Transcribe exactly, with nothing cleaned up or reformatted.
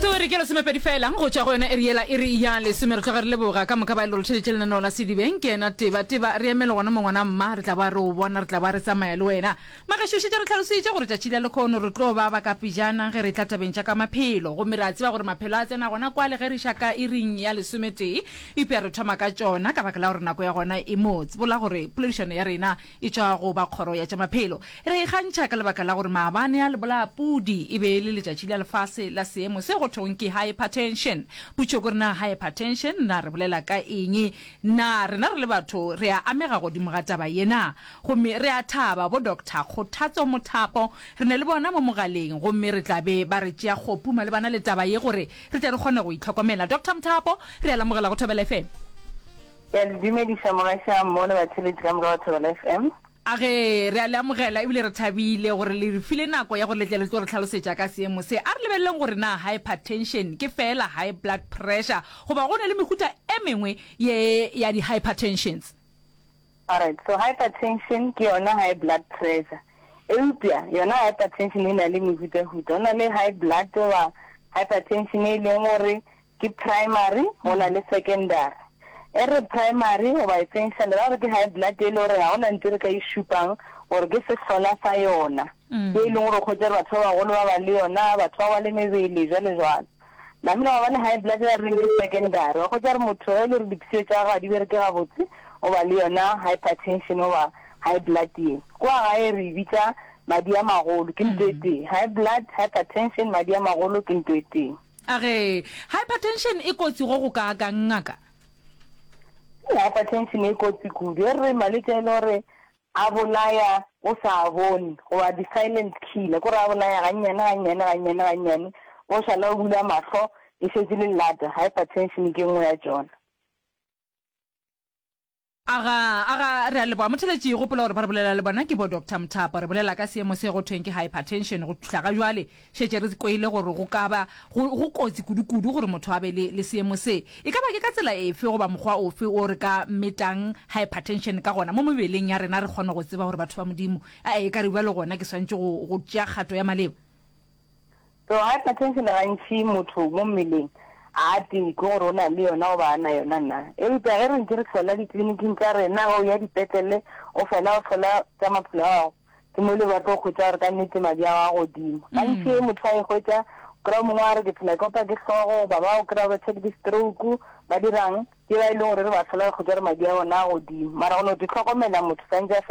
Metsotso re ke lesomepedi fela go tšwa go yona iri yela iri ya lesome. Re tloga re leboga ka moka ba e le gore theletše lenaneo la Sedibeng. Ke yena Teba Teba, re emele gona mo ngwana mma, re tla ba re o bona, re tla ba re tsamaya le wena. Magašo šetše re hlalositše gore tšatši la lekhono re tlo ba ba ka pejana ge re tla tabeng tša ka maphelo, gomme re a tseba gore maphelo a tsena gona kwale ge re iša ka iring ya lesometee, eupša re thoma ka tšona ka baka la gore nako ya gona e mo tsebola gore poledišano ya rena e tšwa go ba kgoro ya tša maphelo. Re ikgantšha ka lebaka la gore maabane a lebolaya-pudi e be e le letšatši la lefase la seemo se go thwego ke hypertension. Potšo ke gore na hypertension na re bolela ka eng? Na rena re le batho re a amega godimo ga taba ye na? Gomme re a thaba bo Doctor Kgothatso Mothapo re ne le bona mo mogaleng gomme re tla be ba re tšea kgopu malebana le taba ye gore re tle re kgone go itlhokomela. Doctor Mothapo, re a lamogela go Thobela F M. Ke a le dumediša mogaša mmo le batheeletši ka moka ba Thobela F M. A ge, re a le amogela ebile re thabile gore le re file nako ya gore le tle le tlo re hlalosetša ka seemo se. A re lebeleleng gore na hypertension ke feela high blood pressure goba go na le mehuta e mengwe ye ya di-hypertensions. Alright, so hypertension ke yona high blood pressure. Eupša yona hypertension e na le mehutahuta. Go na le high blood goba hypertension e leng gore ke primary, go na le secondary. E re primary goba essential, ra gore ke high blood e le gore ga go na ntho e re ka e šupang gore ke sehlola sa yona. Ke e leng gore o hwetša gore batho ba bagolo ba ba le yona, batho ba ba le mebele, jwalo jwalo. Namile gwa ba le high blood e re reng ke secondary, wa hwetša gore motho ge e le gore dipshio tša gagwe ga di bereke gabotse, o ba le yona hypertension goba high blood ye. Kua gae re e bitša madi a magolo, ke ntho e tee. High blood, hypertension, madi a magolo ke ntho e tee. A re, Hypertension e kotsi go go kaakang, ngaka? Hypertension e kotsi kudu. E re malwetši a e le gore a bolaya o sa a bone, goba di-silent killer, ke gore a bolaya gannyane, gannyane, gannyane, gannyane, o šala o bula mahlo e šetše le llata. Hypertension ke nngwe ya tšona. Aga, aga, re a leboga. Motheletši, gopola gore ba re bolela le bona ke bo Doctor Mothapo. Re bolela ka seemo se go thweng ke hypertension. Go fihla ga jwale, šetše re kwele gore go ka ba go, go kotsi kudu-kudu gore motho a be le, le seemo se. E ka ba ke ka tsela efe goba mokgwa ofe wo re ka metang hypertension ka gona mo mebeleng ya rena re kgone go tseba gore batho ba Modimo, a e ka re bjalo gona ke swanetše go, go tšea kgato ya maleba? So hypertension gantši motho mo mmeleng a a tee ke gore o na le yona goba a na yona na. Eupša ge re ntše re hlola ditleliniking tša rena, ge o ya dipetlele o fela o hlola tša maphelo a gago, ke mo le ba tlo hwetša gore ka nnete madi a gago a godimo. Gantši ge motho a e hwetša, o kry-a o mongwe a re ke phela ke opa ke hlogo, goba ba o kry-a ba tshwere ke stroke, ba dirang, ke ba e leng gore re ba hlola re hwetša gore madi a bona a godimo. Mara go no di hlokomela motho swantše a fela